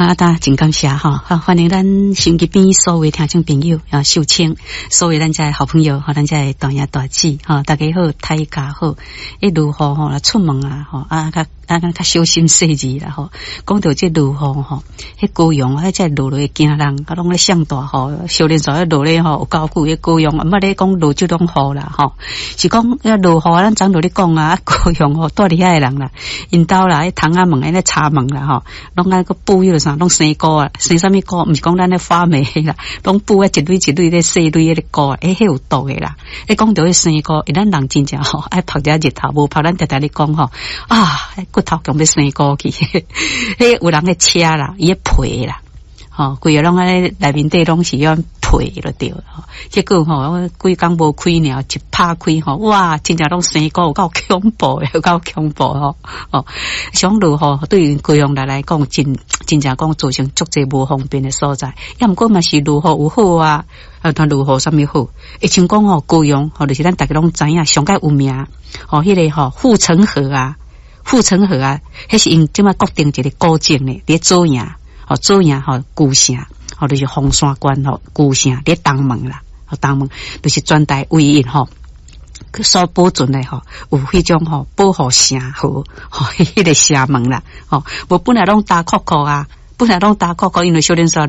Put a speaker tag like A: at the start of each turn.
A: 阿達真感謝吼，好，歡迎咱收音機邊所有聽眾朋友啊，秀清，所有咱遮的好朋友，吼，咱遮的大爺大姊，吼，大家好，大家好。一落雨吼，出門啊，吼，啊，較啊，較小心細膩啦，吼。講著這落雨吼，彼高雄啊，這落落會驚人，啊，攏咧上大雨，小連續咧落咧吼，有夠久彼高雄，毋捌咧講落這種雨啦，吼。是講遐落雨，咱昨就咧講啊，高雄吼，住佇遐的人啦，𪜶兜啦，彼窗仔門，彼柴門啦，吼，攏愛閣布彼个啥，攏生菇啊，生啥物菇？毋是講咱咧發霉啦，攏布啊一蕊一蕊咧細蕊彼個菇，欸，彼有毒的啦。欸，講著彼生菇，欸，咱人真正吼愛曝一下日頭，無曝咱定定咧講吼，啊，骨頭強欲生菇去，彼有人咧切啦，伊咧皮啦，吼，規个攏按呢內面底攏是按皮就對吼。結果吼，規工無開爾，一拍開吼，哇，真正攏生菇，有夠恐怖的，有夠恐怖吼。哦，想落雨對高雄人來講，真真正講造成足濟無方便的所在。抑毋過嘛是落雨有好啊，啊，但落雨啥物好？會像講吼，高雄吼，就是咱逐家攏知影上蓋有名吼，彼個吼護城河啊，護城河啊，彼是𪜶這擺國定一個古蹟呢，佇左營吼，左營吼舊城，吼就是鳳山縣吼舊城，佇東門啦，吼東門就是全台唯一吼所保存的吼，有彼種吼保護城河吼，彼個城門啦，吼，無本來攏焦洘洘啊，本來攏焦洘洘，因為小連煞。